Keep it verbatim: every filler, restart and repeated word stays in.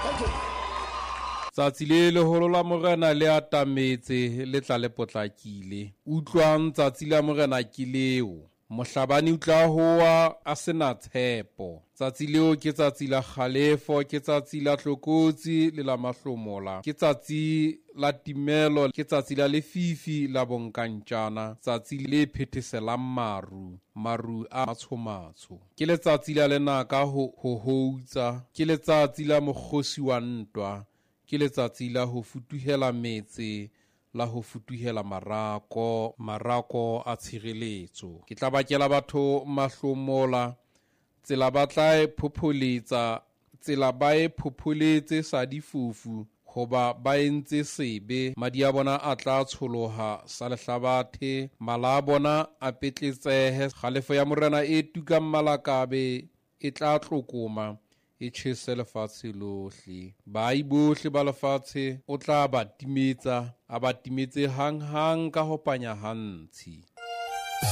Thank you. Tsatsi le leholo la Morena le atametse, le tla le potlakile. Utlwang, tsatsi la Morena ke leo. Mohlabani o tla hoa a sena tshepo. Tsatsi leo ke tsatsi la kgalefo, ke tsatsi la tlokotsi le la mahlomola, ke tsatsi la timelo, ke tsatsi la lefifi la bonkantjana, tsatsi le phetheselang maru, maru a matshomatsho. Ke letsatsi la lenaka ho ho houtsa, ke letsatsi la mokgosi wa ntwa, ke letsatsi la ho futuhela metse, la ho futuhela marako, marako a tshireletso. Ke tla bakela batho mahlomola, tsela ba tla e phopholetsa, tsela ba e phopholetse sa difofu, hoba ba entse sebe. Madi a bona a tla tsholoha sa lehlabathe, mala a bona a petletsehe. Kgalefo ya Morena e tukang malakabe e tla tlokoma, e tjhese lefatshe lohle. Baahi bohle ba lefatshe o tla ba timetsa, a ba timetse hanghang ka ho panya ha ntshi.